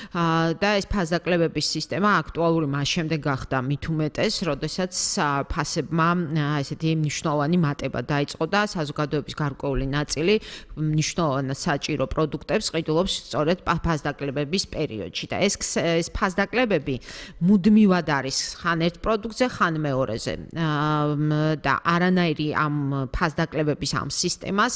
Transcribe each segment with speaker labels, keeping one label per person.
Speaker 1: და ეს ფასდაკლებების სისტემა აქტუალური მას შემდეგ გახდა მით უმეტეს, როდესაც ფასებმა ესეთი მნიშვნელოვანი მატება დაიწყო და საზოგადოების გარკვეული ნაწილი მნიშვნელოვან საჭირო პროდუქტებს ყიდულობს სწორედ ფასდაკლებების პერიოდში და ეს ფასდაკლებები მუდმივად არის ხან ერთ პროდუქტზე, ხან მეორეზე და არანაირი ამ ფასდაკლებების ამ სისტემას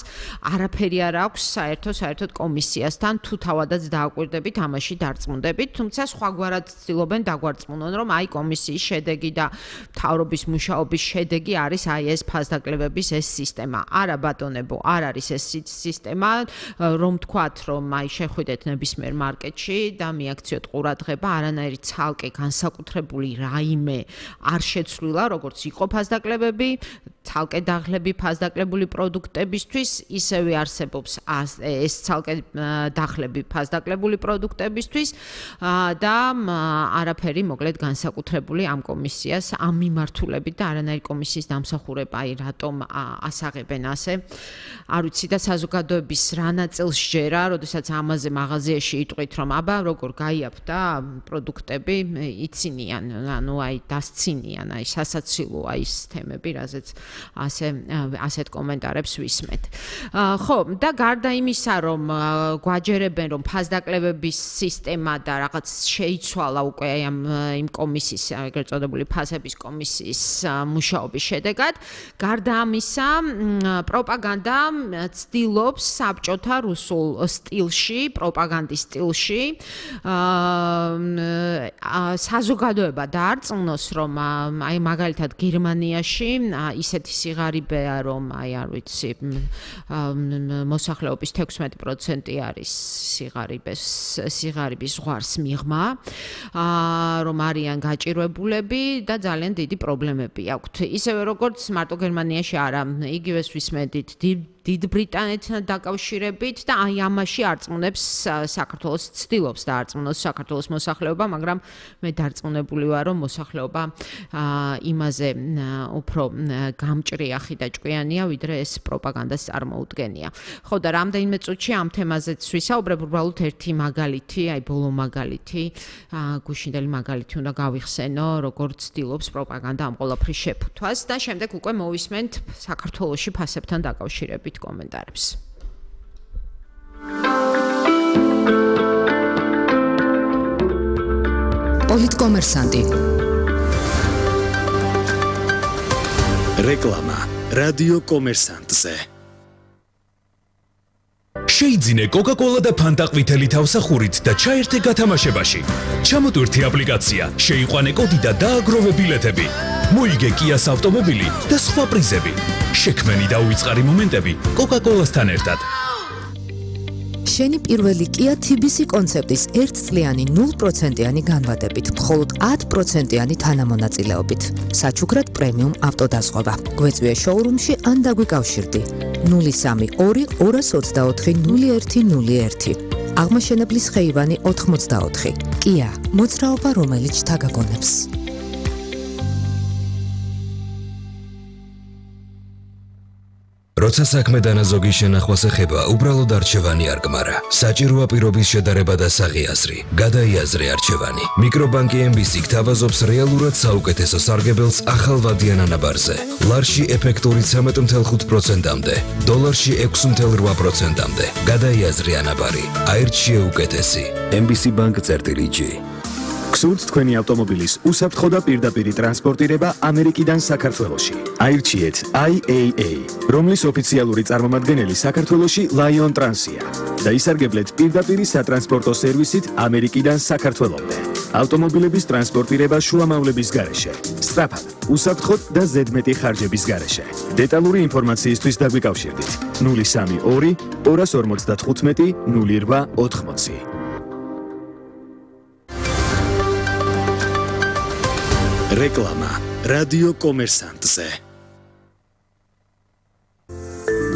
Speaker 1: არაფერი არ აქვს საერთოდ კომისიასთან თუ თავადაც დააკვირდებით ამაში დარწმუნდებით, თუმცა სხვაგვარად ცდილობენ დაგვარწმუნონ, რომ აი კომისიის შედეგი და მთავრობის მუშაობის შედეგი არის აი ეს ფასდაკლებების ეს სისტემა. არა ბატონებო, არ არის ეს სისტემა, რომ თქვათ, რომ აი შეხვიდეთ ნებისმიერ მარკეტში და მიაქციოთ ყურადღება, არანაირი ცალკე განსაკუთრებული რაიმე არ შეცვლილა, როგორც იყო ფასდაკლებები, ცალკე დაღლები ფასდაკლებული პროდუქტებისთვის, ისევე არსებობს ეს ცალკე დაღლები ფასდაკლებული პროდუქტებისთვის და არაფერი მოკლედ განსაკუთრებული ამ კომისიას ამ მიმართულებით და არანაირი კომისიის დამსახურება აი რატომ ასაღებენ ასე. არ ვიცი და საზოგადოების რა ნაწილს ჯერა, როდესაც ამაზე მაღაზიაში იტყვით, რომ აბა როგორ გაიაფ და პროდუქტები იცინიან, ანუ აი დასცინიან, აი სასაცილოა ის თემები, რაზეც ასეთ კომენტარებს ვისმეთ. ხო, და გარდა იმისა, რომ გვაჯერებენ, რომ ფასდაკლებების სისტემა და რაღაც შეიცვალა უკვე იმ კომისიის, ეგრეთ წოდებული ფასების კომისიის მუშაობის შედეგად, გარდა ამისა, პროპაგანდა ცდილობს საბჭოთა რუსულ სტილში, პროპაგანდის სტილში საზოგადოება დაარწმუნოს, რომ აი მაგალითად გერმანიაში ისეთი სიღარიბეა, რომ აი არ ვიცი, მოსახლეობის 16% არის სიღარიბის ზღვარს მიღმა, რომ არიან გაჭირვებულები და ძალიან დიდი პრობლემები აქვთ. ისევე როგორც მარტო გერმანიაში არა, იგივეს ვისმენთ დიდ ბრიტანეთთან დაკავშირებით და აი ამაში არწმუნებს საქართველოს, ცდილობს დაარწმუნოს საქართველოს მოსახლეობა, მაგრამ მე დარწმუნებული ვარ, რომ მოსახლეობა იმაზე უფრო გამჭრიახი და ჭკვიანია, ვიდრე ეს პროპაგანდას წარმოუდგენია. ხო და რამდენიმე წუთში ამ თემაზეც ვისაუბრებ, უბრალოდ ერთი მაგალითი, აი ბოლო მაგალითი, გუშინდელი მაგალითი უნდა გავიხსენო, როგორც ცდილობს პროპაგანდა ამ ყველაფრის შეფუთვას და შემდეგ უკვე მოვისმენთ საქართველოში ფასებთან დაკავშირებით კომენტარებს.
Speaker 2: პოლიტკომერსანტი.
Speaker 3: რეკლამა რადიო კომერსანტზე.
Speaker 4: შეიძინე კოკა-კოლა და ფანტა ყვითელი თავსახურით და ჩაერთე გათამაშებაში. ჩამოტვირთი აპლიკაცია, შეიყვანე კოდი და დააგროვე ბილეთები. მოიგე კიას ავტომობილი და სხვა პრიზები. შექმენი და უიწყარი მომენტები კოკა-კოლასთან ერთად.
Speaker 2: შენი პირველი Kia TBC კონცეპტის 1 წლიანი 0%-იანი განვადებით, მხოლოდ 10%-იანი თანამონაწილეობით. საჩუქრად პრემიუმ ავტოდაზღვევა. გვეწვიე შოურუმში ან დაგვიკავშირდი. 032 224 0101. აღმაშენებლის ხეივანი 84. Kia, მოძრაობა რომელიც თაგაგონებს.
Speaker 4: როცა საქმე დანაზოგი შენახვას ეხება, უბრალოდ არჩევანი არ გმარა. საჭიროა პირობის შედარება და საღი-აზრი. გადაიაზრე არჩევანი. მიკრობანკი MBC გთავაზობს რეალურად საუკეთესო სარგებელს ახალვადიან ანაბარზე. ლარში ეფექტური 13.5%-მდე, დოლარში 6.8%-მდე. გადაიაზრე ანაბარი. აირჩიე უკეთესი. MBC Bank-G.
Speaker 3: გსურთ თქვენი ავტომობილის უსაფრთხო და პირდაპირი ტრანსპორტირება ამერიკიდან საქართველოში. აირჩიეთ IAA, რომლის ოფიციალური წარმომადგენელი საქართველოში Lion Trans-ია და ისარგებლეთ პირდაპირი სატრანსპორტო სერვისით ამერიკიდან საქართველომდე. ავტომობილების ტრანსპორტირება შუამავლების გარეშე, სწრაფად, უსაფრთხოდ და ზედმეტი ხარჯების გარეშე. დეტალური ინფორმაციისთვის დაგვიკავშირდით 032 255 0880. რეკლამა რადიო კომერსანტზე.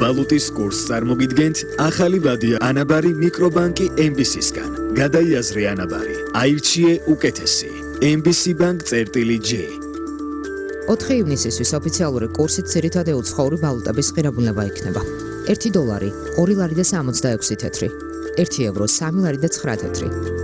Speaker 3: ვალუტის კურსს წარმოგიდგენთ ახალი ვადია ანაბარი მიკრობანკი MBC-სგან. გადაიაზრე ანაბარი. აირჩიე უკეთესი. MBC Bank-G.
Speaker 2: 4 ივნისისთვის ოფიციალური კურსით ძირითადად უცხოური ვალუტების ღირებულება იქნება. 1 დოლარი 2 ლარი და 66 თეთრი, 1 ევრო 3 ლარი და 9 თეთრი,